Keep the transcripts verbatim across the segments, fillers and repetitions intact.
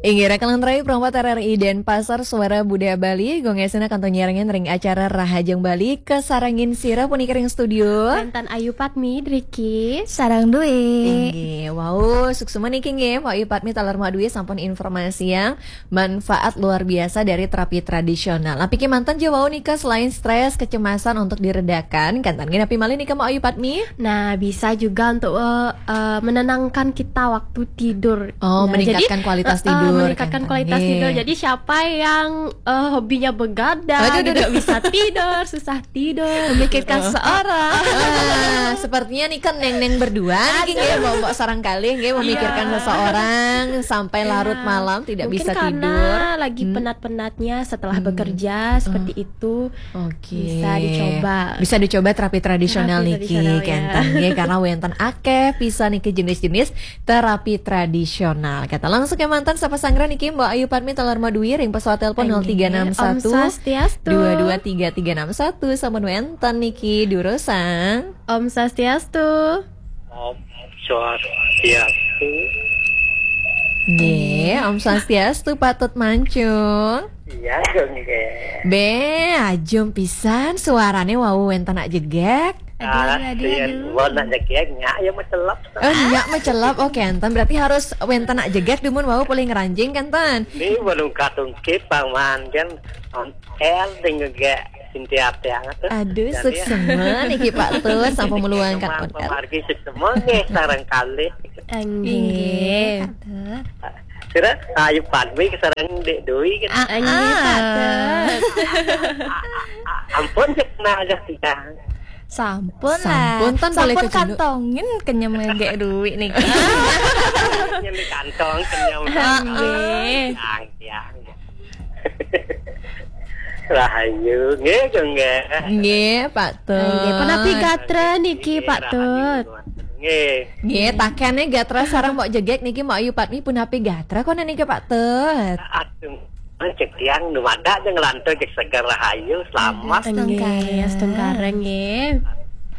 Inggih, rakalan rai, perempat R R I Denpasar, Suara Budaya Bali, gongesina kantun nyarengin ring acara Rahajeng Bali, kasarengin sira puniki ring studio. Wénten Ayu Padmi, Driki. Sareng Dwi. Inggih, wau, suksma niki nggih, Mbok Ayu Padmi taler Mbok Dwi sampun informasiang manfaat luar biasa dari terapi tradisional. Napi kémanten ja wau nika selain stres, kecemasan untuk diredakan, kénten nggih napi malih nika Mbok Ayu Padmi? Nah, bisa juga untuk, eh, eh, menenangkan kita waktu tidur. Oh, nah, meningkatkan jadi, kualitas eh, eh, tidur, meningkatkan kan? Kualitas tidur. Jadi siapa yang, eh, hobinya begadang, aduh, aduh, tidak aduh, bisa tidur, susah tidur, memikirkan seseorang. Ah, sepertinya nih kan neng-neng berdua nih, aduh, nggih, Mbok-mbok sareng kalih, nggih, memikirkan, iya, seseorang sampai, iya, larut malam tidak, mungkin bisa karena tidur, lagi, hmm, penat-penatnya setelah, hmm, bekerja, seperti, oh, itu. Oke. Bisa dicoba. Bisa dicoba terapi tradisional. Terapi niki, tradisional, ya, kénten nggih, karena wénten akéh pisan niki jenis-jenis terapi tradisional. Kita langsung kémanten sapa sanggra niki, Mbok Ayu Padmi taler Mbok Dwi ring pesawat telepon. Inggih. Nol tiga enam satu, Om Swastiastu, dua dua tiga tiga enam satu, sampun wénten niki durusang. Om Swastiastu. Om Swastiastu. Nggih, Om Swastiastu, Pak Tut Mancung. Iya, nggih. Bé, ajum pisan suarane wau wénten nak jegég. Aduh, ah, aduh, aduh, iya, aduh. Wau nak jegég, nyak ya mecelep. Oh, nyak mecelep. Oh, kénten. Berarti harus wénten nak jegég dumun wau polih ngranjing kénten. Ini menungkat-ungkit, Bang Man, kan. El ding gé sinti ati anget tuh. Aduh, jadi, suksma niki Pak Tut, sampun meluangkan order. Pamargi suksma nggih sareng kalih. Inggih, Pak Tut. Kira Ayu Padmi sareng Dék Dwi kan. Ah, inggih, Pak Tut. Ampun, cek nah aja tiang. Sampun lah. Sampun, tan, sampun boleh kecunduk. Kantongin kenyem Dék Dwi niki. Nyeli kantong kenyem. Inggih. Tiang, tiang. Rahayu, nggih, nggih. Nggih, Pak Tut. Nggih, punapi gatra niki, nggih, Pak Tut. Rahayu. Nggih. Nggih, takéné gatra sareng Mbok Jegég niki, Mbok Ayu Padmi, punapi gatra koné niki, Pak Tut? Aduh, cek tiang dumadak aja nglantur, cek seger, rahayu, selamat. Nggih, astungkara, nggih.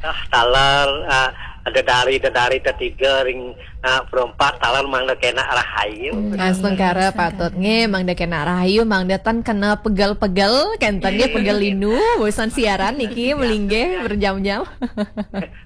Ah, taler, ah, dedari, dedari tetiga ring, ah, perempat, taler mangda kénak rahayu. Hmm, astungkara, astungkara. Pak Tut nggih, mangda kénak rahayu, mangda tan kena pegel-pegel, kénten nggih, pegel linu, bosan siaran niki, melinggih berjam-jam.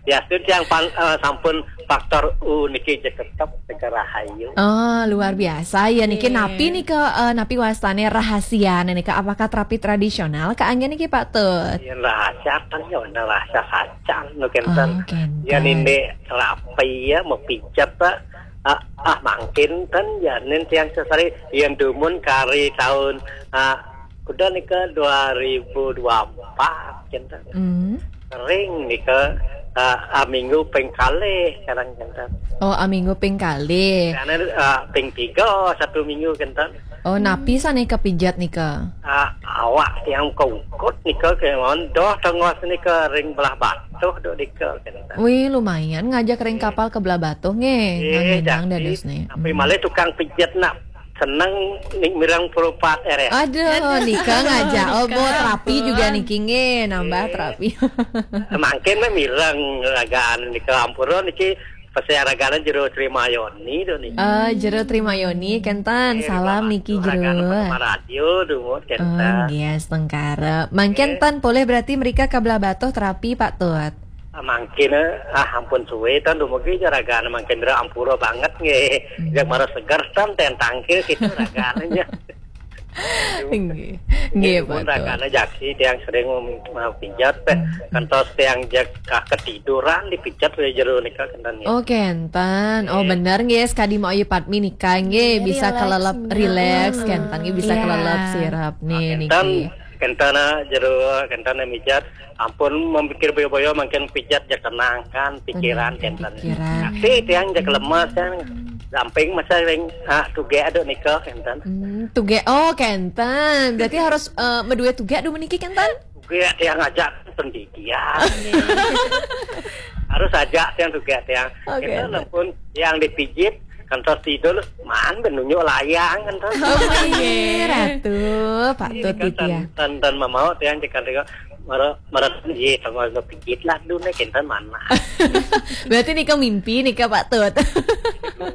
Ya, itu yang pan-, eh, sampun faktor U niki, cek tetep cek rahayu. Oh, luar biasa ya niki. Nggih. Napi nika, eh, napi wastane rahasia nika? Apakah terapi tradisional kaanggén niki, Pak Tut? Yén rahasia kan ya, ana rahasia sajan nu kénten. Oh, kénten. Yén indik terapi ya, mepijat, Pak. Ah, ah, mangkin ten ya, nen tiang sesari yén dumun kari taun, ah, kuda nika dua ribu dua empat, kénten. Hmm. Ring nika, ah, ah, minggu ping kalih, kadang kénten. Oh, ah, minggu ping kalih. Karena, ah, ping tiga satu minggu, kénten. Oh, napi sané kapijat nika? Ah, awak tiang kaukut nika, kémaon doh tengos nika ring Belah Batuh duk nika, kénten. Wih, lumayan ngajak ring kapal ke Belah Batuh nggih, eh, nganginang jadi dadosné. Tapi, hmm, malih tukang pijat nak seneng ning mireng perupat R S. Aduh, aduh, nika ngajak. Oh, nika. Bo terapi juga niki nggih, nambah, eh, terapi. Mangkin mé mireng ragaan nika, ampura niki, pesan ragané Jero Trimayoni to niki. Ah, Jero Trimayoni, kénten. Eh, salam niki, Jero. Ragaan Pertama Radio, dumun, kénten. Oh, nggih, astungkara. Mangkin, eh, tan polih berarti mrika ka Belah Batuh terapi, Pak Tut. Ah, mangkin, eh, ah, ampun suwe, tan dumugi ja ragane mangkin, Dra, ampura banget nggih. Hmm. Jak mara seger, tan, ten tangkil gitu ragane ja. Nggih. Nggih, nggih, pun Pak Tut. Ragane jaki tiang sering mem-, mapijat, teh. Hmm. Kantos tiang jak ka-, ketiduran dipijat wé jero nika, kenten ya. Oh, kenten. Oh, nggih. Bener nggih, sekadi Mbok Ayu Padmi nika nggih, nggih, bisa rileks, kelelep, rileks, hmm, kenten nggih, bisa, iya, kelelep sirep nih, ah, kenten, niki. Kenten, ah, jero, kenten mijat. Ampun, memikir boyo-boyo, mangkin pijat jak tenangkan pikiran, tenangkan kenten. Pikiran. Tapi tiang jak lemes kan, samping masa ring, ah, tugek aduk nika, kenten. Hmm, tugek, oh, kenten. Berarti harus, eh, medue tugek dulu niki, kenten? Tugek tiang ajak pendidian. Harus ajak tiang tugek tiang. Oke. Kenten ampun, tiang dipijit, kantos tidur, man, ben nunjuk layang, kenten. Oh, iya, Ratu, Pak Tut, kenten, gitu ya. Kenten, kenten mamau tiang, kenten, Mara, mara, iya, sama pijit lah dulu nih, kinten mana. Berarti nika mimpi nika, Pak Tut.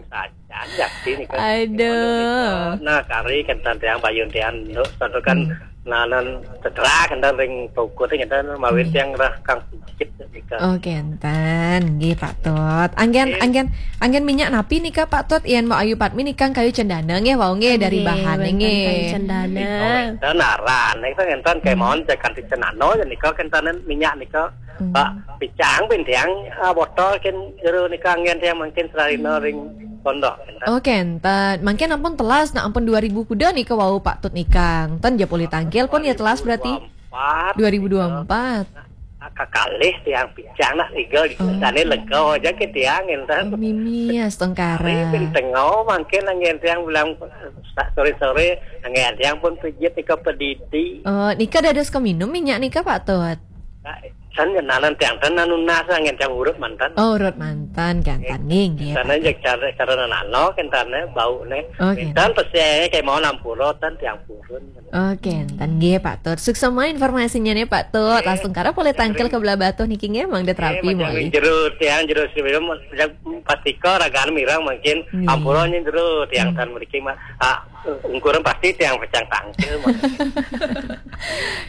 Saja, jadi nika. Aduh. Nah, kari kinten tiang bayun tiang, no, satu kan, hmm, nanan setelah kinten ring pokok teh kinten mawin, hmm, tiang rah kang pijit nika. Oh, kinten, nggih, Pak Tut. Anggen, nggih, anggen, anggen minyak napi nika, Pak Tut? Yen Mbok Ayu Padmi nika kayu cendana nggih, wau nggih, dari, nggih, bahan wénten nggih. Kayu cendana. Nika wénten aran, nika kinten, hmm, kemawon cek kanthi cenano, ya nika kinten minyak nika. Hmm. Pak, picang pun tiang, ah, botol kin jero nika anggen tiang mangkin seralina, hmm, ring pondok, kinten. Oh, kinten. Mangkin ampun telas, nah ampun dua ribu kuda nika wau Pak Tut nika. Ten ja poli tangkil pun ya telas berarti. Dua ribu dua puluh empat. Dua ribu dua puluh empat. Nah, kakalih tiang picang nak tiga di, oh, sana lega aja ke tiang, kinten. Mimi astungkara. Tapi pun tengah mangkin anggen tiang bilang sore-sore anggen tiang pun pijit nika pedidi. Oh, nika dados keminum minyak nika, Pak Tut? Nah, san ngenalan tiang ten anu nas anggen tiang urut manten. Oh, urut manten, kinten nggih, nggih, sana Pak Tut. Aja cara, cara nanano, kinten bau nih. Oh, kinten. Kinten pasti kemawon ampura ten tiang purun. Oh, kinten nggih, Pak Tut. Suksema informasinya nih, Pak Tut. Nggih. Langsung kara boleh tangkil ke belah batuh niki nggih, Mang Det Rapi. Nggih, macam mawon. Jero tiang, jero sebelum, pasti kok ragaan mirang mangkin, nggih, ampura nih jero tiang, hmm, tan mriki mah. Ah, ungkuran pasti tiang pecang tangkil mah.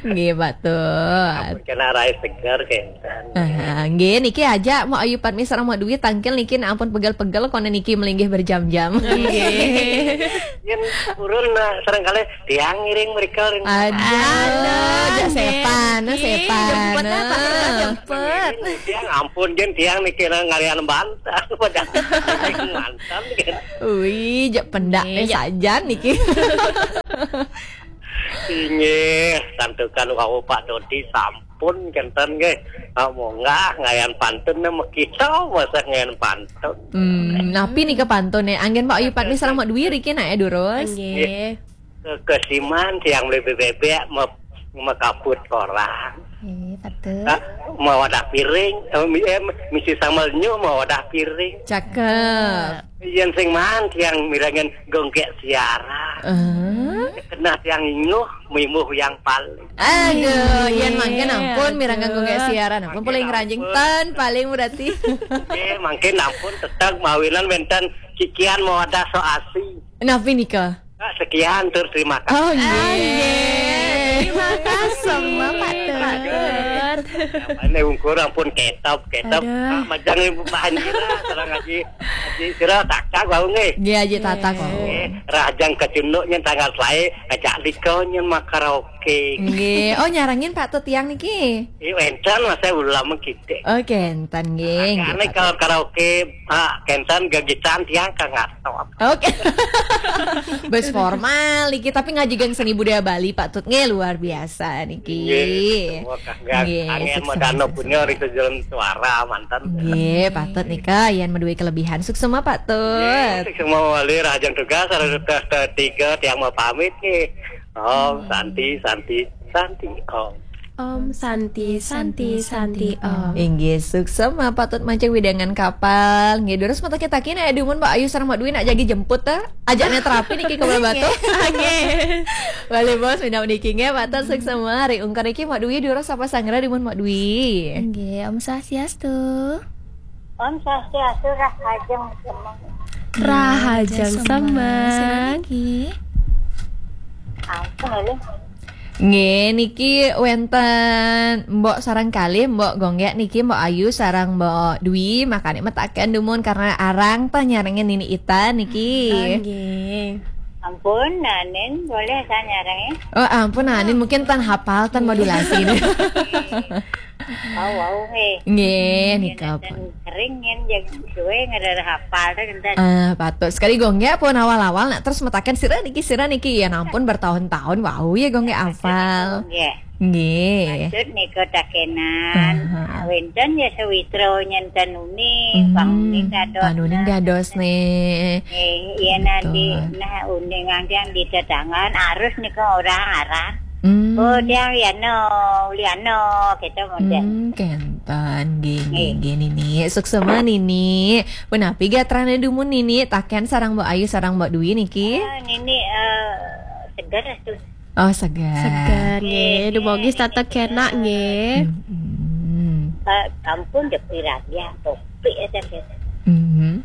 Nggih, Pak Tut. Ampun kena rai segar, kinten. Aha, nggih, niki aja Mbok Ayu Padmi sareng Mbok Dwi tangkil niki, nah ampun pegel-pegel kono niki melinggih berjam-jam. Nggih. Yen purun, nah, serangkali tiang ngiring mereka ring. Aduh, aduh, jak nggih, sepan, nggih, sepan. Jemput, nah, Pak, jemput. Tiang ampun, jen tiang niki ngalian bantal, padahal mantan, kan. Wih, jak pendak, nggih, eh, jak sajan niki. Inggih, santukan wau Pak Dodi sampun kinten nggih. Ah, munggah ngayan pantun nih, mekita masa ngayan pantun. Hmm, napi nika pantun nih? Anggen Mbok Ayu Padmi sareng Mbok Dwi riki nak ya durus. Nggih. Kekesiman tiang beli bebek me-, mekaput korang. Nggih, betul. Ah, mawadah piring, eh, mi-, eh, misi sambal nyuh mawadah piring. Cakep. Yen sing maan tiang mirengin gonggek siaran. Eh? Kena tiang inyuh, mimuh yang paling. Aduh, yen mangkin ampun, betul, mirengin gonggek siaran. Ampun, mangkin paling ranjing ampun. Ten, paling berarti. Nggih, mangkin ampun tetep mawinan wénten cikian mawadah so asi. Napi nika? Nah, sekian, tur terima kasih. Oh, nggih. Ah, nggih. Terima kasih, Pak Tut. Ini ungkur ampun ketop, ketop. Aduh. Ah, majang ibu bahan kira, sareng Haji, Haji sira takak wau nggih. Nggih, Haji Tatak wau. Nggih, rahajeng kecunduk nyen tanggal selae, ajak liko nyen mak karaoke. Nggih. Oh, nyarengin Pak Tut tiang niki? Iya, wénten, masa ulam kitik. Oh, kinten nggih. Nah, nggih, karena Pak Tut. Kalau karaoke, ah, kinten gegitan tiang kang ngatop. Oke. Bes formal niki, tapi ngaji geng seni budaya Bali, Pak Tut nggih, luar biasa niki. Nggih, semua kagak. Nggih, angin sukses, modano sukses punya semua. Risa jalan suara mantan. Nggih, Pak Tut nika yen maduwe kelebihan. Suksema, Pak Tut. Nggih, suksema wali, rahajeng tugas, ada tugas tiga tiang mau pamit nggih. Om, hmm, Santi, Santi, Santi, Om. Om Santi, Santi, Santi, Om. Inggih, suksema Pak Tut mancing widangan kapal. Nggih, durus mata kita kini, eh, dumun Mbok Ayu sareng Mbok Dwi nak jagi jemput ta. Ajak Net Rapi niki ke Batu. Nggih. Nggih. Bali Bos, minam niki nggih, Pak Tut suksema. Hari ungkur niki Mbok Dwi durus apa sanggra dumun Mbok Dwi. Nggih, Om Swastiastu. Om Swastiastu, rahajeng semeng. Rahajeng semeng. Sira niki. Ampun, Lih. Nggih, niki wénten Mbok sareng kalih, Mbok Gonggek niki, Mbok Ayu sareng Mbok Dwi, makane metaken dumun karena arang ta nyarengin Nini Ita niki. Oh, nggih. Ampun, Nanin, boleh saya nyarengin? Oh, ampun, Nanin, mungkin tan hafal, tan modulasi. Wau, wau, nggih. Nggih, nika, Pak. Kering, yen suwe ngerer hafal, ten. Ah, patut. Sekali Gonggek pun awal-awal nak terus metaken sira niki, sira niki. Ya ampun, bertahun-tahun wau ya Gonggek hafal. Nggih. Nggih. Patut nika takenan. Aha. Wénten ya sawitra nyen ten uni, hmm, Bang Uni dados. Bang Uni dados nih. Nggih, yen nanti, betul, nah, uni ngantian di tetangan, arus nika orang arah. Hmm. Oh, dia Liano, Liano, gitu model. Hmm, kenten, nggih, nggih, nggih, Nini. Suksema, Nini. Punapi gatrane dumun, Nini? Taken sareng Mbok Ayu, sareng Mbok Dwi niki? Ah, Nini, eh, seger tuh. Oh, seger. Seger, nggih. Dumogi setata kenak, nggih. Hmm. Ampun, jek piragih, topik aja, nggih. Hmm.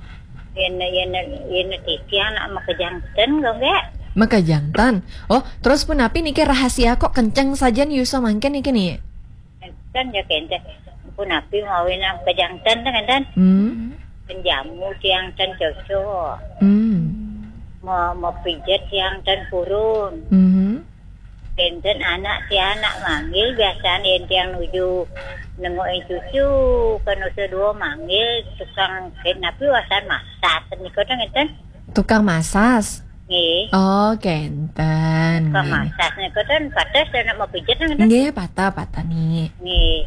Yen, yen, yen titiang nak makejang ten, kok nggih? Makejang ten. Oh, terus punapi niki rahasia kok kenceng saja nih Yusa mangken niki nih. Kan ya kenten. Punapi mawi nak makejang ten, kan, ten? Hmm. Penjamu tiang ten cocok. Hmm. Mau, mau pijet tiang ten purun. Hmm. Kenten anak tiang nak manggil biasanya yen tiang nuju nengokin cucu, kan usia dua manggil tukang ken napi wasan masas niku ten, ngeten. Tukang masas. Nggih. Oh, kenten. Tukang Nggih. Masas niku ten pates anak mau pijet, ngeten. Nggih, patah-patah nih. Nggih.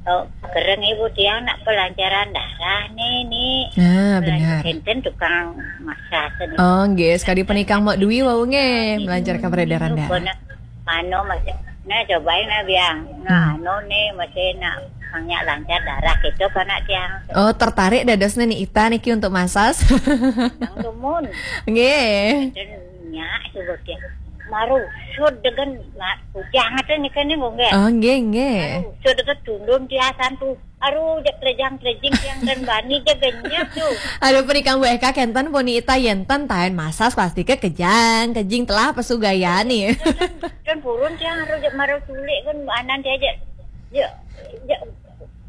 Oh, kereng ibu tiang nak pelancaran darah nih, nih. Nah, benar. Kenten tukang masas niku. Oh, nggih, sekali penikang Mok Dwi wau nggih, melancarkan peredaran darah. Pokoknya, anu masih, nah, cobain, nah, biang. Nah, anu nih masih nak banyak lancar darah gitu kan, nak tiang. Oh, tertarik dadosnya nih Ita niki untuk masas. Nang dumun. Nggih. Dan nyak coba dia. Marusut dengan ma-, ujang aja nih kan nih, nggih. Oh, nggih, nggih. Marusut dengan tundun tiasan tuh. Aduh, jak telejang telejing tiang dan bani jak genjak tuh. Aduh, penikang Bu Eka kenten puni Ita yen ten taen masas pasti ke kejang, kejing telah pesugayani. Dan purun tiang aduh jak marau culik kan anan dia aja. Ya, ya,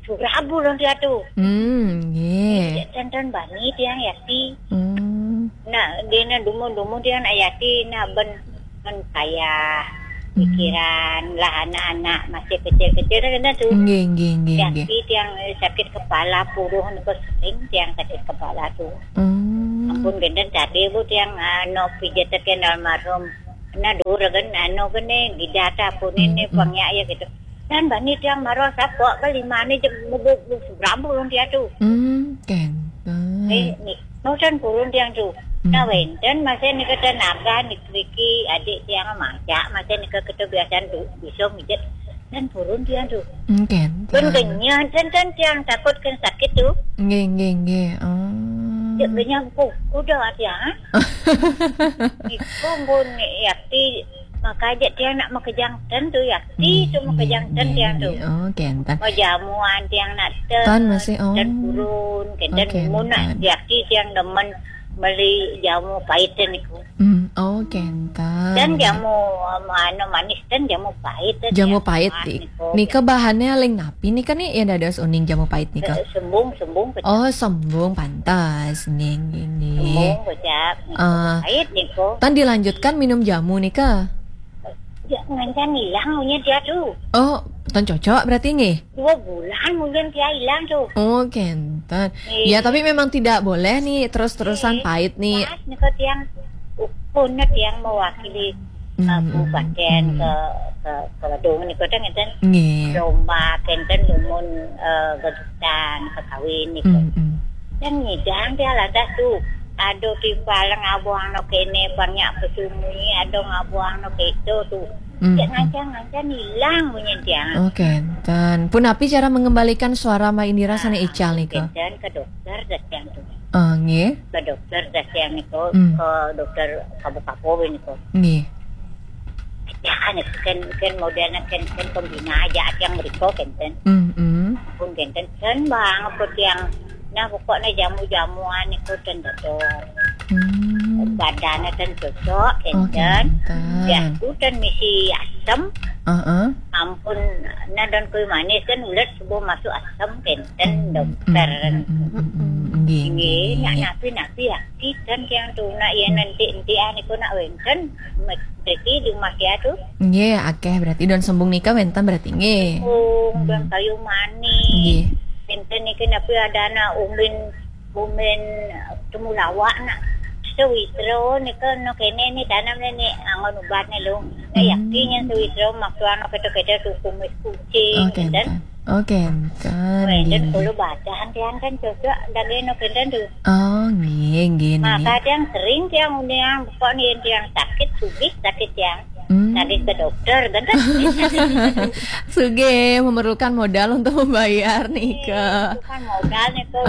surabu dong dia tuh. Hmm, nggih. Jak ten bani tiang yati. Hmm. Nah, dia na dumun-dumun tiang nak yati, nah ben, ben payah pikiran lah anak-anak masih kecil-kecil kan tuh. Nggih, nggih, nggih, nggih. Yati tiang, eh, sakit kepala puruh niku sering tiang sakit kepala tuh. Hmm. Ampun genten tadi bu tiang, ah, no pijat teken almarhum. Nah, dulu kan anu gene gidata pun ini Hmm, hmm. Pangnya ya gitu. Dan bani tiang marah sapok ke lima ni je mubuk surabu dong dia tuh. Hmm, kenten. Eh, ni, no ten purun tiang tuh. Hmm. Nah, wenten masih ni kata naga ni kriki adik tiang masak masih ni kata biasa tuh bisa mijet dan purun tiang tuh. Hmm, kenten. Ben kenyang ten ten tiang takut kan sakit tuh. Nggih, nggih, nggih. Oh. Cek kenyang ku kuda tiang. Iku pun yakti maka aja tiang nak makejang ten tuh yakti tuh makejang ten tiang tuh. Oh, kenten. Majamuan tiang nak ten. Tan masih, oh. Dan purun, kenten Oke, mun nak tan. Yakti tiang demen beli jamu pahit niku. Hmm, oh, kenten. Dan jamu, um, anu manis dan jamu pahit. Jamu pahit. Nika bahannya aling napi nika nih ya dados uning jamu pahit nika. Eh, sembung, sembung kecap. Oh, sembung pantas. Nggih, nggih, nggih. Sembung kecap. Ah. Pahit niku. Tan dilanjutkan minum jamu nika. Ya, ngancan hilang punya dia tuh. Oh, tan cocok berarti nggih. Dua bulan mungkin dia hilang tuh. Oh, kenten. Iya. Ya, tapi memang tidak boleh nih terus-terusan pahit nih. Pas niku tiang ukun tiang mewakili Hmm, uh, hmm, kabupaten hmm. ke ke ke Badung niku teh ngeten. Nggih. Lomba kenten dumun, eh, gegitan kekawin niku. Hmm, hmm. Dan ngidang dia lantas tuh. Aduh timpal ngabuang no kene banyak pesumi, aduh ngabuang no keto tuh. Hmm, Cek hmm. Ngancang-ngancang hilang bunyi tiang. Oh, kenten. Punapi cara mengembalikan suara Mbak Indira sana ical nika. Kenten ke dokter datang tuh. Oh, nggih. Ke dokter datang niku, Hmm. ke dokter kabu-kabu niku. Nggih. Ya kan, kan, kan modelnya kan, kan pembina aja yang beriko kenten. Hmm, hmm. Pun kenten kan bang aku tiang. Nah, pokoknya jamu-jamuan niku ten dokter. Hmm. Badannya ten cocok Oh, kenten. kenten. Ya, aku ten misi asam. Heeh. Ampun, nah dan kui manis kan ulet subuh masuk asam kenten Hmm, dokter. hmm, hmm, hmm, hmm. Nggih, nggih, Nggih, nak nggih. Napi-napi ya, kiten yang tu nak ya nanti nanti ah niku nak wenten, mesti di rumah dia tu. Nggih, akeh berarti don sembung nika wenten berarti nggih. Sembung, Hmm. don kayu manis. Nggih. Wenten niki napi ada anak umin, umin temulawak nak. Sewitro nika no kene ni tanam ni angon ubat ni lung. Nah, Hmm. Yakin yang sewitro maksuan kita-kita tu kumis kucing, Oh, kenten. kenten. Oh, kenten. Wenten Nggih. Kalau badan tiang kan cocok daging no kenten tu. Oh, nggih, nggih, nggih. Maka tiang sering tiang uniang pokok ni tiang sakit sugih sakit tiang. Nagih ke dokter kan. Sugih, memerlukan modal untuk membayar nika. Itu kan modal nika,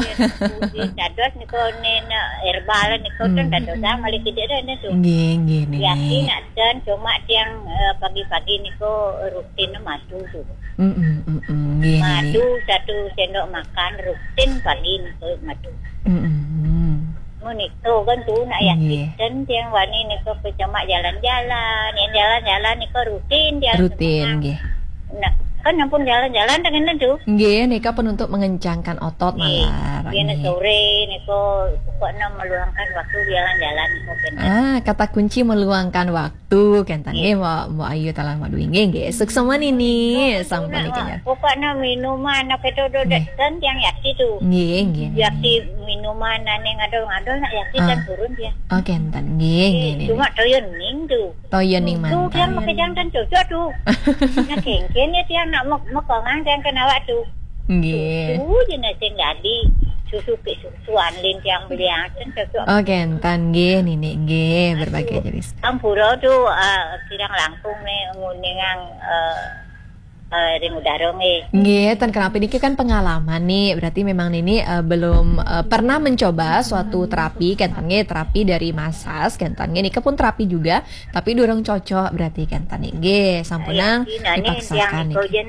ya, dados nika nen herbal nika kan dados malih kidik dah nika. Nggih, nggih, Nini. Yakin nak ten, cuma tiang, eh, pagi-pagi nika rutin madu tu. Mm-mm, mm-mm, nggih, Nini. Madu satu sendok makan rutin pagi nika madu. Mm-mm. Mun itu kan tu nak yakin ten tiang wani nika ke cuma jalan-jalan, yang jalan-jalan nika rutin tiang. Rutin, nggih. Nah, kan ampun jalan-jalan dengan tu. Nggih, nika pun untuk mengencangkan otot malar. Nggih, nggih. Sore nika pokoknya meluangkan waktu jalan-jalan nika kan. Ah, kata kunci meluangkan waktu, kenten nggih, Mbok, Mbok Ayu taler Madui nggih, nggih. Suksma Nini, sampun niki. Pokoknya minuman apa tu dodek ten tiang yakin tu. Nggih, nggih, nggih. Yakin minuman ane ngadol-ngadol nak yakin kan turun dia. Oh, kenten nggih, nggih, nggih. Cuma toya ning tu. Toya ning mantan. Tu tiang pakai jantan cocok tu. Nak kengken ya tiang nak mek-, mekongan tiang kena awak tu. Nggih. Susu je nak sing dadi. Susu ke susu anlin tiang beli asen cocok. Oh, kenten nggih, Nini nggih, berbagai jenis. Ampura tu, ah, kirang langkung ni nguningang, eh, eh, ring udara nggih. Nggih, ten kenapa niki kan pengalaman nih. Berarti memang Nini, eh, belum, eh, pernah mencoba suatu terapi, kenten nggih, terapi dari massage, kenten nggih. Nika pun terapi juga, tapi durung cocok berarti kenten nggih. Nggih, sampunang dipaksakan niki.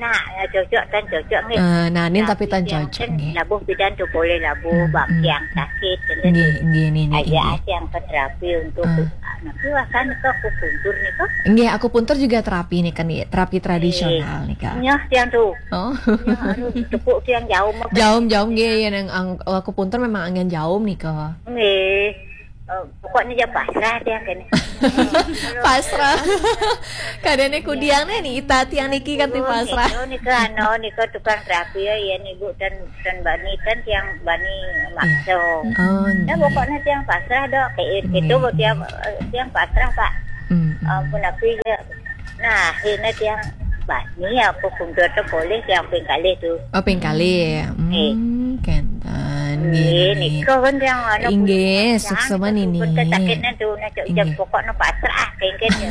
Cocok ten cocok nggih. Eh, nah, nin tapi ten cocok nggih. Labuh pidan tu boleh labuh, bak tiang sakit, kenten. Nggih, nggih, Nini, nggih. Aja yang ke terapi untuk, ah, nanti akan ke akupuntur nika. Nggih, akupuntur juga terapi nika, Ni, terapi tradisional nika. Nyah tiang tu. Oh. Nyah harus tepuk tiang jauh mah. Jauh, jauh nggih, ya, nang ang-, akupuntur memang angin jauh nika. Nggih. Eh, pokoknya je pasrah tiang kene. Pasrah. Kadene kudiang nih, Ni Ita tiang niki kan ti pasrah. Itu nika anu, nika tukang terapi ya, ya, Ibu dan, dan bani kan tiang bani makso. Oh, ya, nggih. Pokoknya tiang pasrah dok, kayak itu tiang, eh, tiang pasrah, Pak. Mm-mm. Ampun, aku ya. Nah, akhirnya tiang bani apa kundur tu boleh tiang ping kalih tu. Oh, ping kalih. Hmm, kenten. Nggih, nggih, nggih. Nika kan tiang anu. Nggih, suksma Nini. Sakitnya tu, nak cok jam pokoknya pasrah, kengken ya.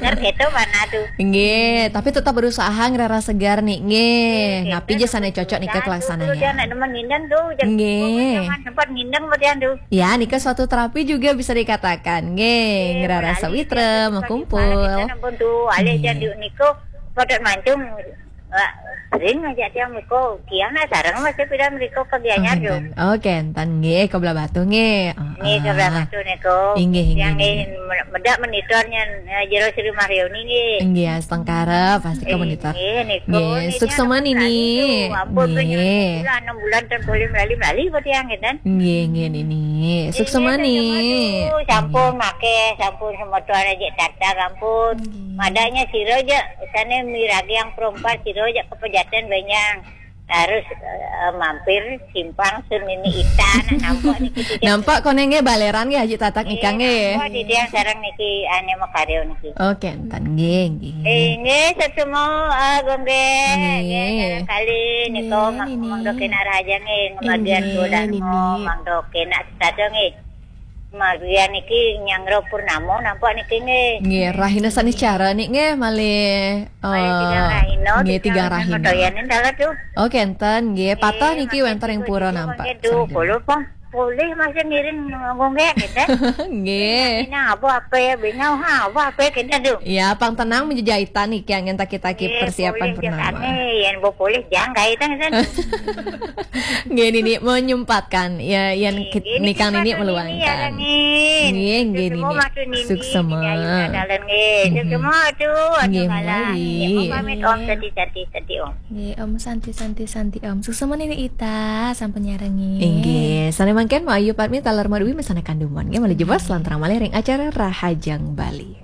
Benar gitu mana tu. Nggih, tapi tetap berusaha ngerara segar nih. Nggih, napi je sana cocok nih ke kelaksananya. Tiang nak nemen ngindang tu, jam pokoknya jangan sempat ngindang buat tiang tu. Ya, nika suatu terapi juga bisa dikatakan. Nggih, ngerara sawitra, makumpul. Ampun tu, alih jan nika pada mancung, eh, sering aja tiang miko, kian lah sareng masih pidan miko ke Gianyar tu. Oh, kenten. Oh, kenten. Nggih, ke Belah Batu nggih. Nggih, ke Belah Batu niko. Inggih, inggih, inggih. Medak monitornya, eh, Jero Sri Mario ni nggih. Nggih, astungkara pasti ke monitor. Nggih, niko. Nggih, suksma Nini. Ampun, nggih. Enam bulan dan boleh melali-melali buat tiang, kenten. Nggih, nggih, Nini. Suksma, Ni. Sampun make, sampun semeton aja tartar, ampun. Nggih. Madanya sira aja, sana miragi yang perompat, sira aja kepejaten banyak. Harus, eh, mampir simpang sun Nini Ita, nak nampak niki. Nampak konenge baleran nggih, Haji Tatak nika nggih. Nampak di tiang sareng niki, ane makaryo niki. Oh, kenten nggih, nggih. Inggih, sesumo, eh, gonggeng. Nggih. Nggih, kali niko, Nggih, Nini. Mangdo kena raja nggih, ngemagian Inggih, bulan Nini. Mangdo kena setada nggih. Magian niki nyangro purnamo nampak niki nggih. Nggih, rahina sanis cara nih nggih, malih, malih tigang, eh, rahina, nggih, tigang rahina. Doyanin dalat tu. Oh, kenten nggih, patah niki wenten ring pura nampak. Nggih, duh, polo pong. Boleh masih ngiring nggonggek, gitu. Nggih. Ini apa, apa ya, bingung, ha, apa, apa ya, gitu, duh. Ya, pang tenang menjejaitan nih, yang ngentak kita ki persiapan purnama. Boleh, yang bo boleh, jangan, gitu, gitu. Nggih, Nini menyempatkan, ya, yang nikang Nini meluangkan. Nggih, nggih, Nini. Suksma. Nggih, Nini. Suksma, aduh, aduh, nggih, ngalah. Nggih, Om pamit, Om, santi, santi, santi, Om. Nggih, Om santi, santi, santi, Om. Suksma Nini Ita, sampun nyarengi. Inggih, sane mangkin Mbok Ayu Padmi taler Madwi mesane kanduman. Nggih, malih jebos lantaran malih ring acara Rahajeng Bali.